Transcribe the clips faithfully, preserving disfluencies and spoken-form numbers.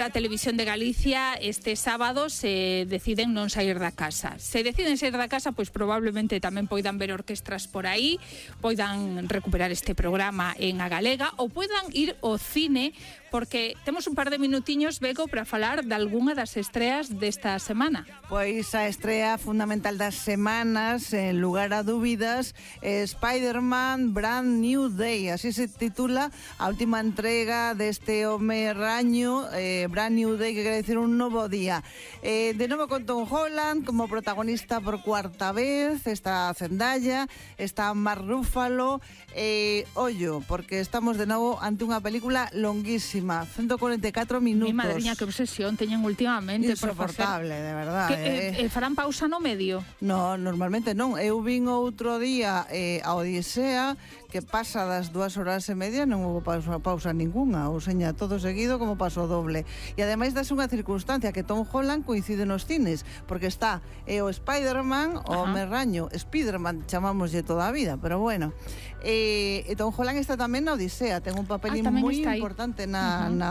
A Televisión de Galicia este sábado se deciden non sair da casa. Se deciden sair da casa, pois probablemente tamén poidan ver orquestras por aí, poidan recuperar este programa en A Galega ou poidan ir ao cine, porque temos un par de minutiños, Bego, para falar de algunha das estreas desta semana. Pois a estrea fundamental das semanas, en lugar a dúbidas, é Spider-Man Brand New Day, así se titula a última entrega deste home raño, eh, Brand New Day, que quere decir un novo día. Eh, de novo con Tom Holland como protagonista por cuarta vez, está Zendaya, está Mark Ruffalo, eh, ollo, porque estamos de novo ante unha película longuísima, ciento cuarenta y cuatro minutos. Mi madriña, que obsesión teñen últimamente. Insoportable, de verdad. Que, eh, eh, farán pausa no medio? No, normalmente non. Eu vin outro día eh, a Odisea, que pasa das dúas horas e media, non houve pausa, pausa ninguna, ou seña, todo seguido como paso doble. E ademais dase unha circunstancia que Tom Holland coincide nos cines, porque está eh, o Spider-Man, o merraño, Spider-Man, chamámoslle toda a vida, pero bueno. Eh, e Tom Holland está tamén na Odisea, ten un papelín ah, moi importante na, uh-huh. na,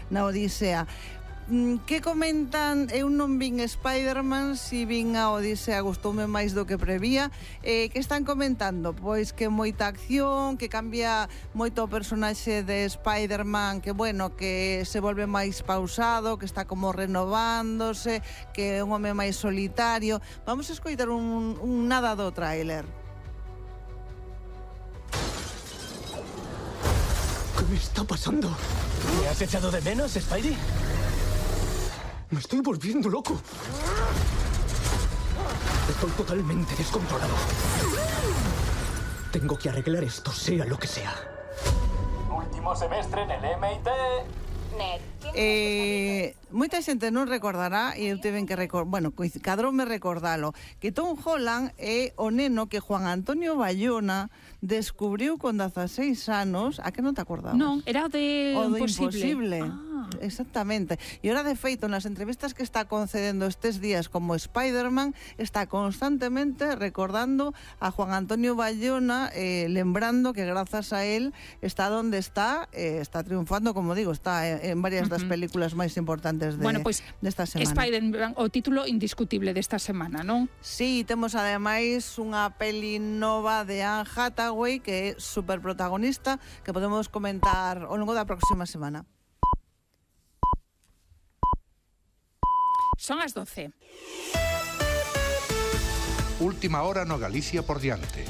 na Odisea. Que comentan? Eu non vin Spider-Man, si vin a Odisea, gustoume máis do que prevía. Eh, que están comentando? Pois que moita acción, que cambia moito o personaxe de Spider-Man, que bueno, que se volve máis pausado, que está como renovándose, que é un home máis solitario. Vamos a escoitar un, un nada do tráiler. ¿Qué me está pasando? ¿Me has echado de menos, Spidey? Me estoy volviendo loco. Estoy totalmente descontrolado. Tengo que arreglar esto, sea lo que sea. Último semestre en el M I T. Eh, moita xente non recordará, e eu tiven que recordar, bueno, cadroume recordalo, que Tom Holland é o neno que Juan Antonio Bayona descubriu con dezaseis anos. A que non te acordabas? Non, era o de o do Imposible. Imposible. Ah. Exactamente. E ora, de feito, nas entrevistas que está concedendo estes días como Spider-Man, está constantemente recordando a Juan Antonio Bayona, eh, lembrando que grazas a él está donde está, eh, está triunfando, como digo, está en varias das películas máis importantes de, bueno, pues, desta semana. Spider-Man, o título indiscutible desta semana, non? Sí, temos ademais unha peli nova de Anne Hathaway que é super protagonista, que podemos comentar ao longo da próxima semana. Son as doce. Última hora no Galicia por diante.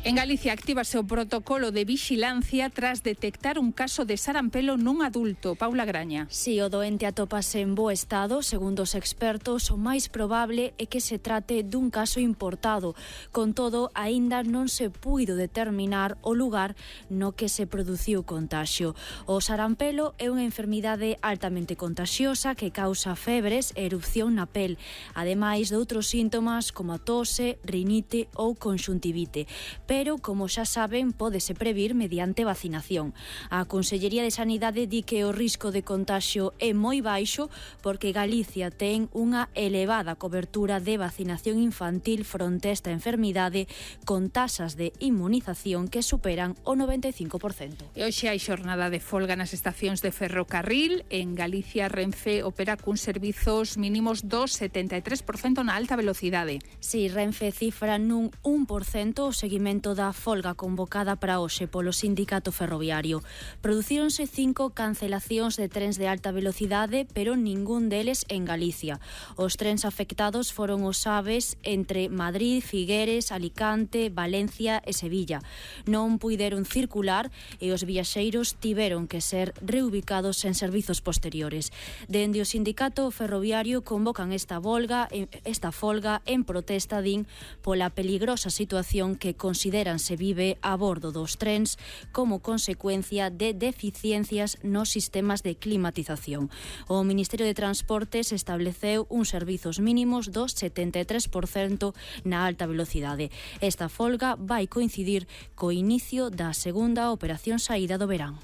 En Galicia actívase o protocolo de vixilancia tras detectar un caso de sarampelo nun adulto. Paula Graña. Si o doente atopase en bo estado, segundo os expertos, o máis probable é que se trate dun caso importado. Con todo, aínda non se puido determinar o lugar no que se produciu o contaxio. O sarampelo é unha enfermidade altamente contaxiosa que causa febres e erupción na pel, ademais de outros síntomas como a tose, rinite ou conxuntivite. Pero, como xa saben, pódese previr mediante vacinación. A Consellería de Sanidade di que o risco de contaxio é moi baixo porque Galicia ten unha elevada cobertura de vacinación infantil fronte a esta enfermidade con tasas de inmunización que superan o noventa e cinco por cento. E hoxe hai xornada de folga nas estacións de ferrocarril. En Galicia, Renfe opera cun servizos mínimos do setenta e tres por cento na alta velocidade. Si, Renfe cifra nun un por cento o seguimento da folga convocada para hoxe polo sindicato ferroviario. Producíronse cinco cancelacións de trens de alta velocidade, pero ningún deles en Galicia. Os trens afectados foron os Aves entre Madrid, Figueres, Alicante, Valencia e Sevilla. Non puideron circular e os viaxeiros tiveron que ser reubicados en servizos posteriores. Dende o sindicato ferroviario convocan esta volga, esta folga en protesta, din, pola peligrosa situación que consideran se vive a bordo dos trens como consecuencia de deficiencias nos sistemas de climatización. O Ministerio de Transportes estableceu uns servizos mínimos do setenta e tres por cento na alta velocidade. Esta folga vai coincidir co inicio da segunda operación saída do verán.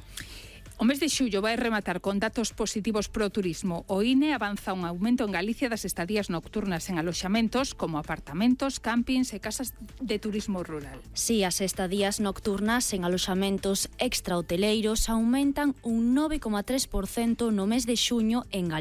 O mes de xullo vai rematar con datos positivos pro turismo. O I N E avanza un aumento en Galicia das estadías nocturnas en aloxamentos como apartamentos, campings e casas de turismo rural. Si, as estadías nocturnas en aloxamentos extrahoteleiros aumentan un nove coma tres por cento no mes de xuño en Galicia.